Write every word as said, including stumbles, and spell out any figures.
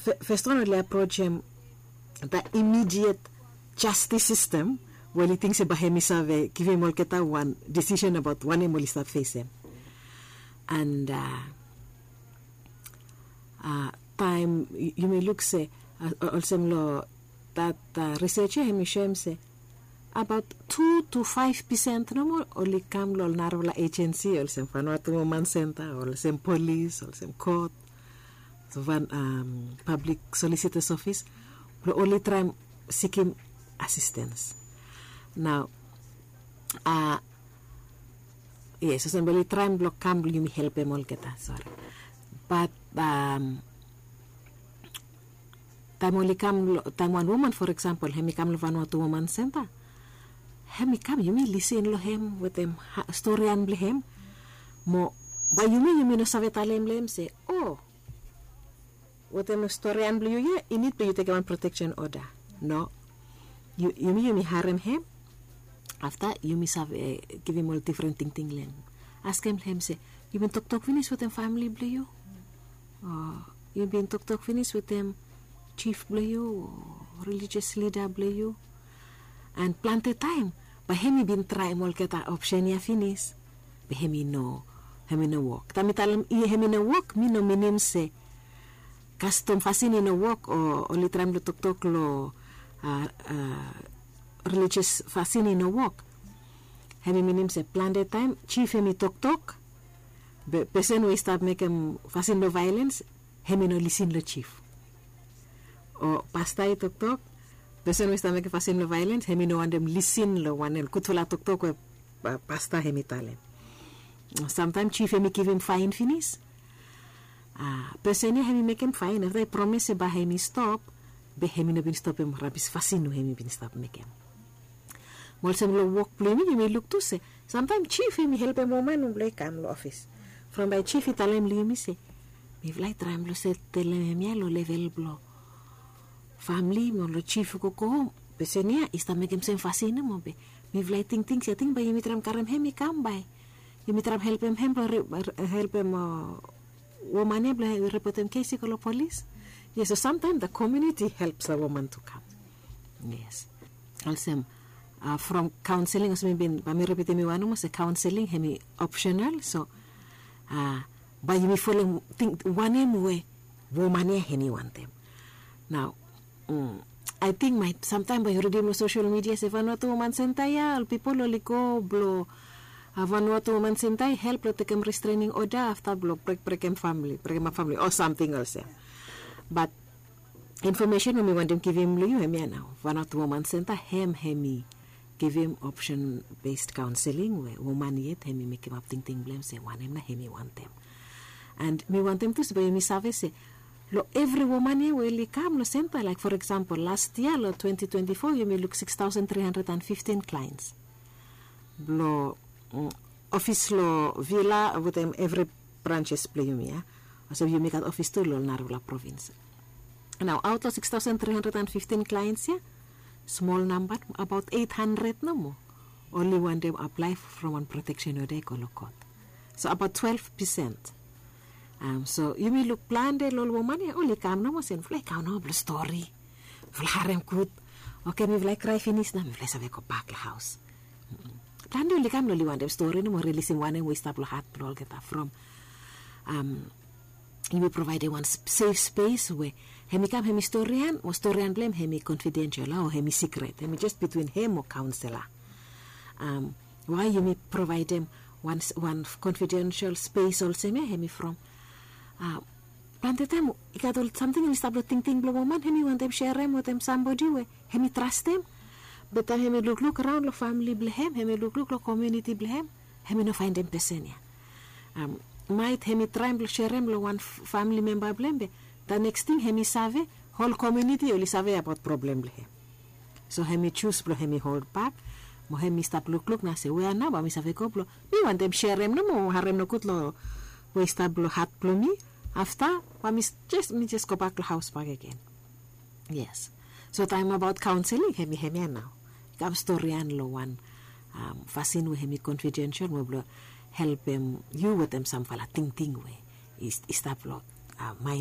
Fes wan oli aprojem da imidiet jastis sistem we oli ting se bae hem i save givim olgeta wan disisen abaot wanem oli stap fesem. And taem yumi luk se olsem long dat risej ya hem i soem se abaot tu tu faef pesen nomo oli kam long ol narafala ejensi olsem Vanuatu Woman Center, olsem polis, olsem kot, pablik solisitors ofis blong oli traem sikim asistens. Nao yes, olsem blong oli traem blong kam blong yumi helpem olgeta, sori. Bat taem oli kam, taem wan woman, for example, hem i kam long Vanuatu Woman Center, hem i kam, yumi lisin long hem wetem storian blong hem. Mo bae yumi yumi no save talem long hem se, o, wetem storian blong yu ya i nid blong yu tekem wan proteksen oda. No. Yumi yumi harem hem. Afta yumi save givim ol difren tingting long hem. Askem long hem se, yu bin toktok finis wetem famili blong yu? O yu bin toktok finis wetem jif blong yu o relijios lida blong yu? And plante taem bae hem i bin traem olgeta opsen ya finis, be hem i no, hem i no wok. Taem mi talem hem i no wok, mi no minim se kastom fasin i no wok o oli traem blong toktok long relijios fasin i no wok. Hem i minim se plante taem jif hem i toktok, be pesen we i stap mekem fasin blong vaelens hem i no lisin long jif. O pasta i toktok, pesen we i stap mekem fasin blong vaelens hem i no wantem lisin long wanem gudfala toktok we pasta hem i talem. Samtaem jif hem i givim faen finis, pesen ya hem i mekem faen, afta i promes se bae hem i stop, be hem i no bin stopem rabis fasin we hem i bin stap mekem. Mo olsem long wok blong yumi, yumi luk tu se samtaem jif hem i helpem woman blong i kam long ofis. From bae jif i talem long yumi se, mifala i traem blong setelem hemia long level blong famili mo long jif i go go hom. Pesen ya i stap mekem sem fasin nomo, be mifala i tingting se ating bae yumi traem karem hem i kam bae yumi traem helpem hem blong helpem woman ya blong ripotem kes i go long polis. Yes, so samtaem da komuniti helpes da woman tu kam. Yes. Olsem from kaonseling, olsem mi bin, bae mi ripitim yu wan nomo se kaonseling hem i opsenal. So bae yumi folem ting wanem we woman ya hem i wantem. Nao ating maet samtaem bae yu ridim long sosel midia se Vanuatu Woman Center ya ol pipol oli go blong Vanuatu Woman Center i help long tekem restrening oda afta blong brekbrekem famili, brekemap famili o samting olsem. Bat infomesen we mi wantem givim long yu hemia nao, Vanuatu Woman Center hem hem i givim opsen bes kaonseling we woman yet hem i mekemap tingting blong hem se wanem nao hem i wantem. And mi wantem tu se bae yumi save se long evri woman ya we oli kam long senta, laek for eksampol las yia long twenti twenti fo yumi luk sikstaosen tri handred and fiftin klaens blong ofis long vila wetem evri branses blong yumi ya. Olsem yumi gat ofis tu long ol narafala provins. Nao aot long sikstaosen tri handred and fiftin klaens ya, smol namba, abaot eit handred nomo oli wantem aplae from wan proteksen oda i go long kot. So abaot twelef pesen. So yumi luk plante long ol woman ya oli kam nomo se mifala i kam nomo blong stori, mifala harem gud. Oke, mifala i krae finis nao mifala i save gobak long haos. Plante oli kam long oli wantem stori nomo, rilisim wanem we i stap long hat blong olgeta from yumi provaedem wan sef spes we hem i kam hem i storian, mo storian blong hem hem i konfidensel o hem i sikret, hem i jes bitwin hem mo kaonsela. Wae yumi provaedem wan konfidensel spes olsem ya hem i from plante taem i gat ol samting hem i stap long tingting blong woman, hem i wantem serem wetem sambodi we hem i trastem. Be taem hem i lukluk raon long famili blong hem, hem i lukluk long komuniti blong hem, hem i no faendem pesen ya. Maet hem i traem blong serem long wan famili memba blong hem, be da neks ting hem i save, hol komuniti oli save abaot problem blong hem. So hem i jus blong hem i holbak, mo hem i stap lukluk nao se wea nao bae mi save go blong mi wantem serem nomo, harem nogud long we i stap long hat blong mi. Afta bae mi jes gobak long haos bakegen. Yes. So taem abaot kaonseling hem i hemia nao, i kam storian long wan fasin we hem i konfidensel we blong helpem yu wetem samfala tingting we i stap long maen